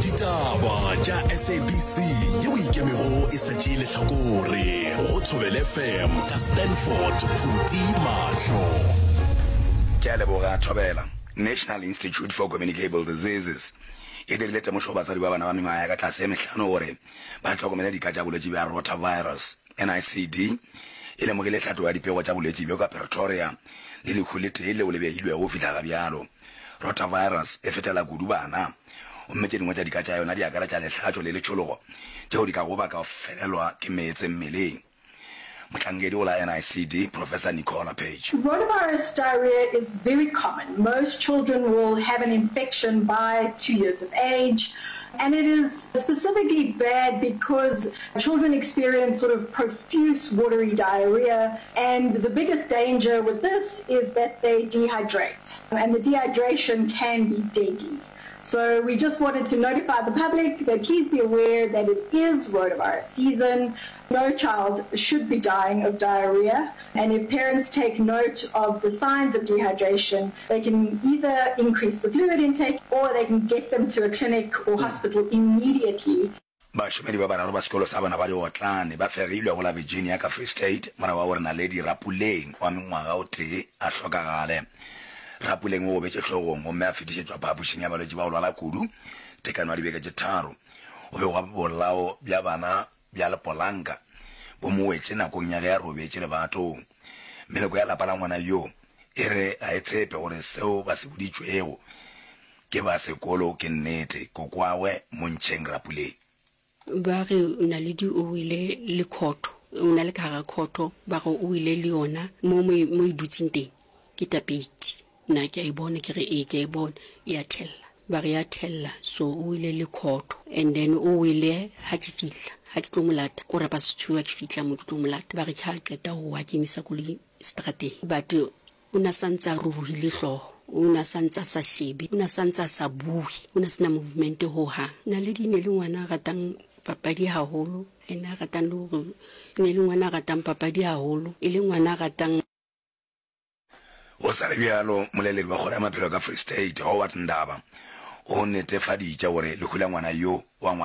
Ditaba tša SABC yeo e ikemego e sa tšee lehlakore go Thobela FM ka Stanford Phuti Mahlo. Ke a leboga Thobela. National Institute for Communicable Diseases e dirile temošo go batswadi ba bana ba mengwaga ya ka tlase e mehlano gore ba hlokomele dika tša bolwetši bja rotavirus. NICD e lemogile tlhatlogo ya dipego tša bolwetši bjo ka Pretoria le lehu le tee leo le begilwego go fihla ga bjalo. Rotavirus e fetela kudu bana, gomme tše dingwe tša dika tša yona di akaretša lehlatšo le letšhologo tšeo di kago baka go felelwa ke meetse mmeleng. Mohlankedi go la NICD, Professor Nicola Page. Rotavirus diarrhea is very common. Most children will have an infection by 2 years of age, and it is specifically bad because children experience sort of profuse watery diarrhea, and the biggest danger with this is that they dehydrate, and the dehydration can be deadly. So we just wanted to notify the public that please be aware that it is rotavirus season. No child should be dying of diarrhea, and if parents take note of the signs of dehydration, they can either increase the fluid intake or they can get them to a clinic or hospital immediately. Bašomedi ba bararo ba sekolo sa bana ba diotlane ba fegilwe go la Virginia ka Free State morago ga gore Naledi Rapuleng wa mengwaga o tee a hlokagale. Rapuleng o gobetše hlogong gomme a fetišetšwa phapošing ya balwetši ba go lwala kudu tekano ya dibeke tše tharo. Go begwa bolao bja bana bja lepolanka bo mo wetše nakong ya ge a robetše lebatong. Meloko ya lapa la ngwana yo e re ga e tshepe gore seo ba se boditšwego Ke ba sekolo ke nnete. Kokoagwe Montšheng Rapuleng. Ba re Naledi o wele le khotho, o na le ka gara khotho, ba re o wele le yona mo mo mo e dutseng teng ke tapeiti. Nna ke a e bona, ke re ee ke a e bona e a thella. Ba re ya thella, so o wele le khotho and then o wele ha ke fihla, ha ke tlo mo lata, kora past two ha ke fihla mo ke tlo mo lata, ba re ke ha qeta ho wa ke emisa koloi strateng but O ne a sa ntse a ruruhile hlooho. O ne a sa ntse a sa shebe. O ne a sa ntse a sa bue. O ne a se na movement ho hang. Naledi e ne e le ngwana a ratang papadi haholo. Ene a ratang le hore e ne e le ngwana a ratang papadi haholo. E le ngwana a ratang. Go sa le bjalo, moleledi wa kgoro ya maphelo ka Free State, Howard Ndaba, o netefaditše gore lehu la ngwana yo wa.